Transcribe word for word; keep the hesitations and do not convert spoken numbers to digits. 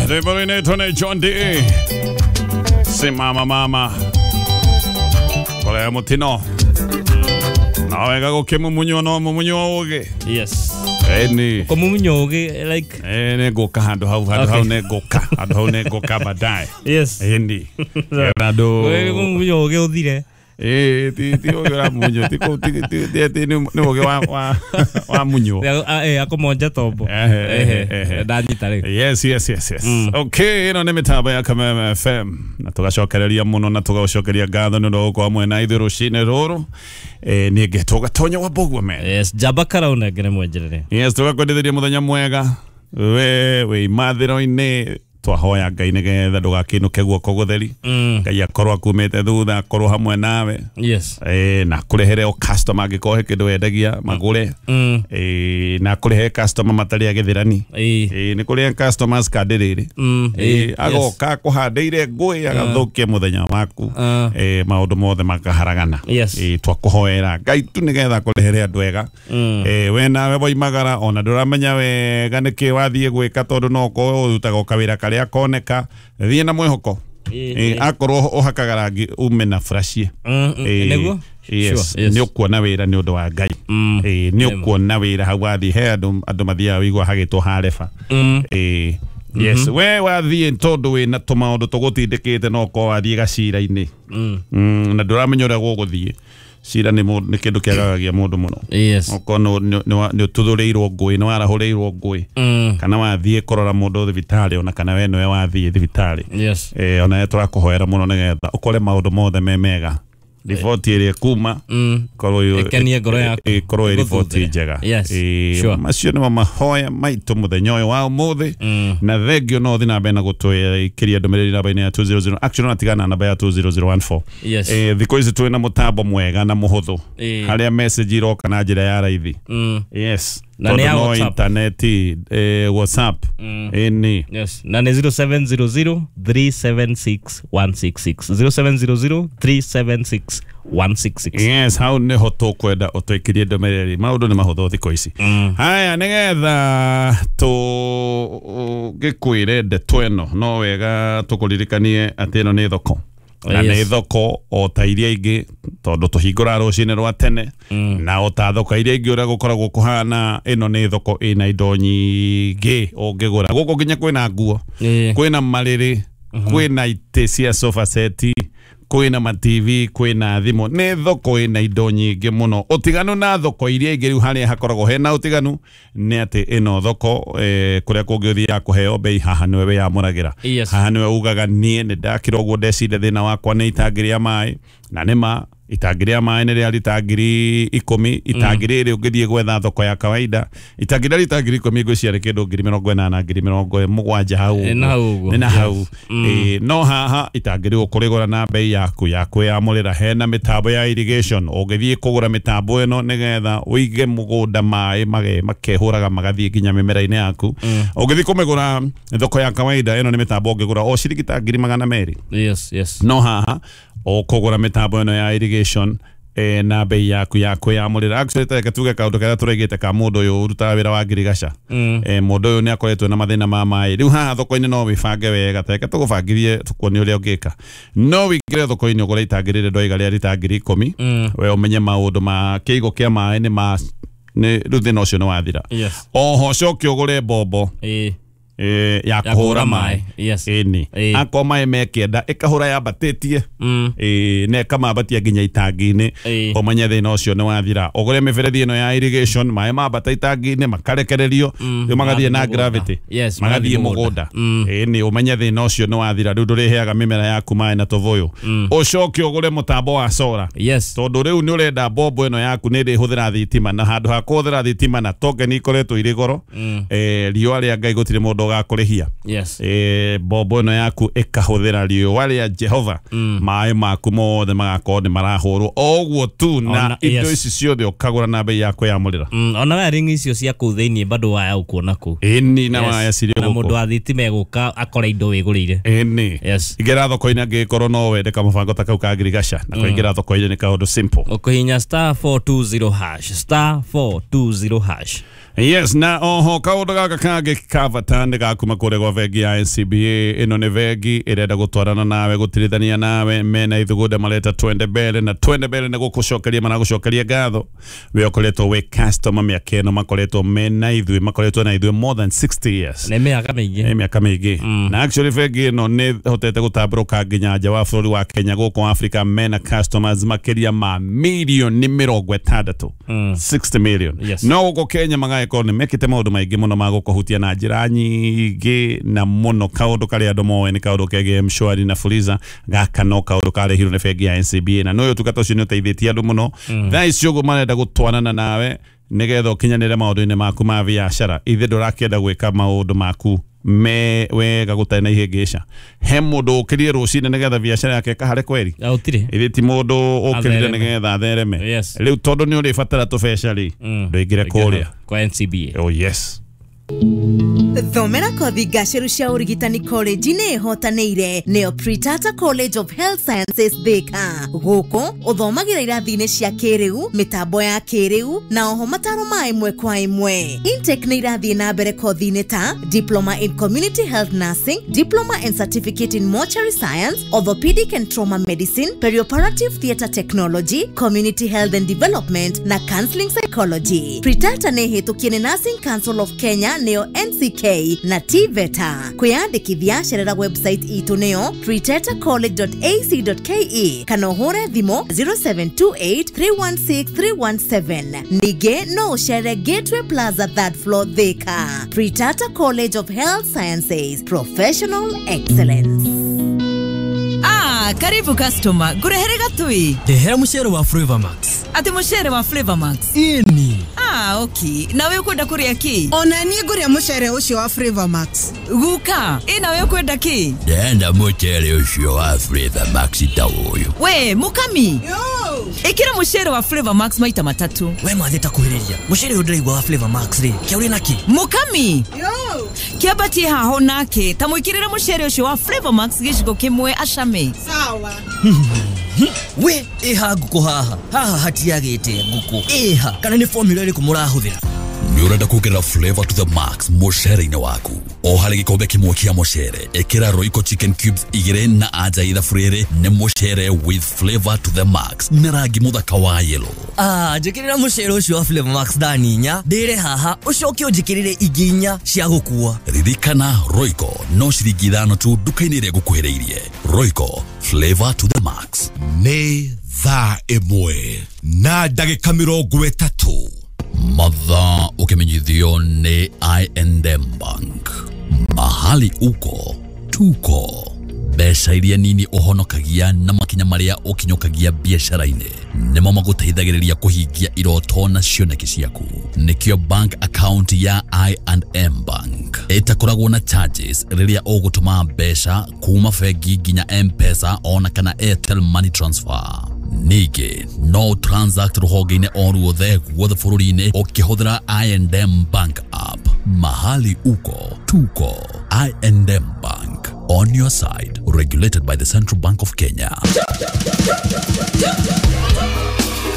Rwĩmbo rũinĩtwo nĩ John D. Simama mama korea mũtino na wega gũkĩmumunywo no mumunywo ũgĩ. Yes. Ĩni Kũmumunywo ũgĩ like ĩ nĩ ngũka handũ hau handũ hau nĩ ngũka handũ hau nĩ ngũka baadaye. Yes. Ĩni handũ kũmumunywo ũgĩ ũthire. Eh, ti ti ũgĩ ũramunywo ti ti ti ti ti nĩ ũgĩ wa wa wa munywo. Eh, akũmonja tombo. Ehe, ehe. Ndanyita rĩu. Yes, yes, yes, yes. Okay, ĩno nĩ mĩtambo ya Kameme F M na tũgacokereria mũno na tũgacokeria ngatho nĩ ũndũ wa gũkorwo hamwe na ithuĩ rũcinĩ rũrũ. Eh, niĩ ngetwo Gatonya wa Mbũgua man. Yes, njamba karauna ngere mwenjerere. Yes, tũgakwendithĩria mũthenya mwega. We wĩ imathĩro-inĩ twahoya Ngai nĩgetha ndũgakĩinũke guoko gũtheri. Ngai akorwo akumĩte thutha akorwo hamwe nawe. Yes. Eh, na kũrehere o customer angĩkorwo he kĩndũ wendagia magũre. Mm. Eh, na kũrehe customer matarĩ agĩthĩrani. Eh. Eh, nĩ kũrĩ customers kandi rĩrĩ. Mm. Eh, agoka kũhandĩire ngũĩ agathũkia mũthenya waku. Uh. Eh, maũndũ mothe makaharagana. Yes. Eh, twakũhoera Ngai tu nĩgetha kũrehere andũ ega. Mm. Eh, we nawe woimagara ona ndũramenya wega nĩkĩ wathiĩ gwĩka tondũ no ũkorwo ũrutaga o kawĩra karĩa koneka thiĩ na mwĩhoko. Eh, Akorwo ũhakaga rangi ume na frashie. Mm, mm, nĩguo? Yes, Sure, yes. nĩ ũkuona wĩra nĩ ũndũ wa Ngai. Mm. Eh, nĩ ũkuona wĩra hau wathiĩ he andũ andũ mathiaga wĩigua hagĩtwo hareba. Mm. Eh, yes, we wathiĩ tondũ wĩna tũmaũndũ tũgũtindĩkĩte no ũkorwo wathiĩ gacira-inĩ. Mm. Mm, na ndũramenya ũrĩa gũgũthiĩ. Cira nĩ mũndũ nĩ kĩndũ kĩagagagia mũndũ mũno. Yes. Okorwo nĩ ũtuthũrĩirwo ngũĩ nĩ warahũrĩirwo ngũĩ. Mm. Kana wathiĩ kũrora mũndũ thibitarĩ ona kana we nĩwe wathiĩ thibitarĩ. Yes. Eh, ona tũrakũhoera mũno nĩgetha ũkore maũndũ mothe me mega. Riboti ĩrĩa ĩkuma Mm. korwo ĩ- Ĩkenie ngoro yaku. ĩ- korwo ĩ riboti njega. Yes. Eh, Sure. macio nĩmo mahoya maitũ mũthenya ũyũ wa ũmũthĩ. Mm. Na thengio no ũthiĩ na mbere na gũtwĩkĩria ndũmĩrĩri namba-inĩ ya two zero zero actually no tigana na namba ya two zero zero one four. Yes. Eh, thikũ ici twĩna mũtambo mwega na mũhũthũ Eh. harĩa message iroka na njĩra ya raithi. Mm. Yes. Na nĩ Tondũ ya no WhatsApp. intaneti eh, WhatsApp. Mm. Ĩni. Yes. Na nĩ zero seven zero zero three seven six one six six. zero seven zero zero three seven six one six six. Yes, hau nĩho tũkwenda ũtwĩkĩrie ndũmĩrĩri. Maũndũ nĩ mahũthũ thikũ ici. Mm. Haya, nĩgetha tũgĩkwĩre ndeto ĩno no wega tũkũririkanie atĩ ĩno nĩ thoko. Na Yes. nĩ thoko o ta iria ingĩ tondũ tũhingũraga rũcinĩ rwa tene. Mm. Na o ta thoko iria ingĩ ũrĩa gũkoragwo kũhana ĩno nĩ thoko ĩna indo nyingĩ ũngĩgũra. Gũkũ nginya kwĩna nguo, Eh. kwĩna marĩrĩ, kwĩna itĩ cia sofa set, kwĩna ma T V, kwĩna thimũ. Nĩ thoko ĩna indo nyingĩ mũno. Ũtiganu na thoko iria ingĩ rĩu harĩa hakoragwo hena ũtiganu nĩ atĩ ĩno thoko eh, kũrĩa kũngĩ ũthiaga kũheo bei haha nĩwe wĩyamũragĩra. Yes. Haha nĩwe ugaga niĩ nĩ ndakĩra ũguo ndecire thĩna wakwa nĩ itangi rĩa maĩ na nĩ ma itangi rĩa maĩ nĩ rĩa rita ngiri ikũmi itangi rĩrĩ ũngĩthiĩ gwetha thoko ya kawaida itangi rĩa rita ngiri ikũmi ngwĩciria nĩ kĩndũ ngiri mĩrongo ĩnana ngiri mĩrongo mũgwanja hau Nĩ na hau ũguo. Nĩ na hau. Yes. Mm. Eh, no haha itangi rĩu ũkũrĩgũra na bei yaku ya kwĩyamũrĩra. Hena mĩtambo ya irrigation ũngĩthiĩ kũgũra mĩtambo ĩno nĩgetha ũige mũgũnda maĩ mage makehũraga magathiĩ nginya mĩmera-inĩ yaku. Ũngĩthiĩ kũmĩgũra thoko ya kawaida ĩno nĩ mĩtambo ũngĩgũra o ciringi ta ngiri magana merĩ. Yes, yes. No haha ũkũgũra mĩtambo ĩno ya irrigation eh, na bei yaku ya kwĩyamũrĩra. Actually reke tuge kaũndũ karĩa tũraigĩte ka mũndũ ũyũ ũrutaga wĩra wa ngirigaca. Mm. Eh, mũndũ ũyũ nĩ akoretwo na mathĩna ma maĩ. Rĩu haha thoko-inĩ no wĩbange wega ta reke tũgũbangithie tũkuonie ũrĩa ũngĩka. No wĩingĩre thoko-inĩ ũgũre itangi rĩrĩ ndoiga rĩa rita ngiri ikũmi. Mm. We ũmenye maũndũ ma kĩigo kĩa maĩ nĩ ma nĩ rĩu thĩna ũcio nĩ wathira. Yes. Oho coke ũgũre mbombo Eh. eh, ya Ya kũhũra kũhũra maĩ. maĩ. Yes. Ĩni. Ĩĩ. Akorwo maĩ me kĩenda ĩkahũra yambatĩtie. Mm. Ĩĩ, na ĩkamambatia nginya itangi-inĩ. Ĩĩ. Ũmenye thĩna ũcio nĩ wathira. Ũgũre mĩberethi ĩno ya irrigation maĩ mambata itangi-inĩ makarekererio Mm. rĩu magathiĩ na Magathiĩ mũgũnda. gravity. Yes, magathiĩ magathiĩ mũgũnda. mũgũnda. Mm. Ĩni ũmenye thĩna ũcio nĩ wathira rĩu ndũrĩheaga mĩmera yaku maĩ na tũbũyũ. Ũcoke ũgũre mũtambo wa solar. Yes. Tondũ rĩu nĩ ũrenda mbombo ĩno yaku nĩ ĩrĩhũthĩra thitima na handũ ha kũhũthĩra thitima na token ikoretwo irĩ goro. Mm. Eh, riũa rĩa Ngai gũtirĩ mũndũ ũgakũrĩhia. Yes. Eh, mbombo ĩno yaku ĩkahũthĩra riũa rĩa Jehova. Mm. Maĩ maku mothe magakorwo nĩ marahũrwo o ũguo tu na Ona- indo yes. ici ciothe ũkagũra na bei ya kwĩyamũrĩra. Mm, ona wiring icio cia kũu thĩinĩ bado waya ũkuona kũu. Ĩni na Yes. waya cirĩ Na mũndũ gũkũ. wa thitima egũka akore indo wĩgũrĩire. Ĩni. Yes. Ingĩra thoko-inĩ angĩkorwo no wende kamũbango ta kau ka ngirigaca na kũingĩra thoko-inĩ nĩ kaũndũ simple. Ũkũhihinya star four two zero hash star four two zero hash. Yes, na oho kaundu gaka kangĩ ka bata nĩ gakuma kũrĩa gwa bengi ya N C B A. Ĩno nĩ bengi ĩrenda gũtwarana nawe, gũtirithania nawe, mena ithugunda mareta twende mbere, na twende mbere nĩ gũkũcokeria maragũcokeria ngatho. We ũkoretwo wĩ customer mĩaka ĩno, makoretwo mena ithuĩ, makoretwo na ithuĩ more than sixty years. Nĩ mĩaka mĩingĩ. Nĩ mĩaka mĩingĩ. Na actually bengi ĩno nĩ hotete gũtambũrũka nginya nja wa bũrũri wa Kenya, gũkũ Africa mena customers makĩria ma milioni mĩrongo ĩtandatũ, sixty million. Yes. No gũkũ Kenya magaĩkorwo nĩ mekĩte maũndũ maingĩ mũno ma gũkũhutia na njĩra nyingĩ na mũno. Kaũndũ karĩa andũ moĩ nĩ kaũndũ kegiĩ M-Shwari na Fuliza, gaka no kaũndũ karehirwo nĩ bengi ya N C B A, na nĩ ũtungata ũcio nĩ ũteithĩtie andũ mũno. Thaa ici ũguo marenda gũtwarana nawe nĩgetha ũkinyanĩre maũndũ-inĩ maku ma biacara. Ithe ndũrakĩenda gwĩka maũndũ maku me wega gũtarĩ na ihĩngĩca. He mũndũ ũkĩrire rũcinĩ nĩgetha biacara yake ĩkahare kweri? Gũtirĩ. Ithe ti mũndũ ũkĩrire Athereme. nĩgetha athereme. Yes. Rĩu tondũ nĩ ũrĩbatara tũbeca rĩ, ndũingĩre kũrĩa kwa N C B A. Oh yes. Thomera kothi ngaceru cia ũrigitani college-inĩ ĩhotanĩire nĩyo Pritata College of Health Sciences Thika. Gũkũ ũthomagĩra irathi-inĩ cia kĩrĩu, mĩtambo ya kĩrĩu na oho mataro ma ĩmwe kwa ĩmwe. Intake nĩ irathiĩ na mbere kothi-inĩ ta Diploma in Community Health Nursing, Diploma and Certificate in Mortuary Science, Orthopedic and Trauma Medicine, Perioperative Theatre Technology, Community Health and Development na Counseling Psychology. Pritata nĩ ĩhĩtũkie nĩ Nursing Council of Kenya nĩyo N C K na T V E T A. Kwĩyandĩkithia cerera website itũ nĩyo pritata college dot a c dot k e kana ũhũre thimũ zero seven two eight three one six three one seven. Ningĩ no ũcere Gateway Plaza third floor Thika. Pritata College of Health Sciences, Professional Excellence. Ah, karibu customer. Ngurehere gatui. Ndehera mucere wa Flavor Max. Ati mucere wa Flavor Max? Ĩni. Ah, okay. Nawe ukwenda kuria ki? Ona niĩ ngũrĩa mucere ũcio wa Flavor Max. Guka, ĩ nawe ukwenda ki? Ndenda mucere ũcio wa Flavor Max ta ũyũ. We, mukami. Yo. Ikira mucere wa Flavor Max maita matatu. We mathe ta kuhĩrĩria. Mucere ũyũ ndĩraigua wa Flavor Max rĩ, kĩa ũrĩ naki? Mukami. Yo. Kĩambatie haho nake, ta mwĩkĩrĩre mucere ũcio wa Flavor Max gĩcigo kĩmwe acame. Sawa. We, ĩha ngũkũ haha. Haha hatiagĩte ngũkũ. Ĩha, kana nĩ formula ĩrĩkũ mũrahũthĩra? Nĩ ũrenda kuongerera flavor to the max mũcere-inĩ waku. O harĩ gĩkombe kĩmwe kĩa mũcere, ĩkĩra Royco chicken cubes igĩrĩ na anja ithabu rĩrĩ nĩ mũcere with flavor to the max na rangi mũthaka wa yellow. Ah, njĩkĩrĩra mũcere ũcio wa Flavor Max thani inya, ndĩre haha, ũcoke ũnjĩkĩrĩre ingĩ inya cia gũkua. Ririkana Royco no ciringi ithano tu nduka-inĩ ĩrĩa ĩgũkuhĩrĩirie. Royco, flavor to the max. Nĩ thaa ĩmwe na ndagĩka mĩrongo ĩtatũ. Mathaa ũkĩmenyithio nĩ I and M Bank. Mahali uko tuko. Mbeca iria nini ũhonokagia na makinya marĩa ũkinyũkagia biacara-inĩ nĩmo magũteithagĩrĩria kũhingia iroto na cioneki ciaku. Nĩkĩo bank account ya I and M Bank ĩtakoragwo na charges rĩrĩa ũgũtũma mbeca kuma bengi nginya M-Pesa ona kana Airtel Money Transfer. Ningĩ no transact rũhonge-inĩ o ruothe guothe bũrũri-inĩ ũkĩhũthĩra I and M Bank app. Mahali uko tuko. I and M Bank, on your side, regulated by the Central Bank of Kenya.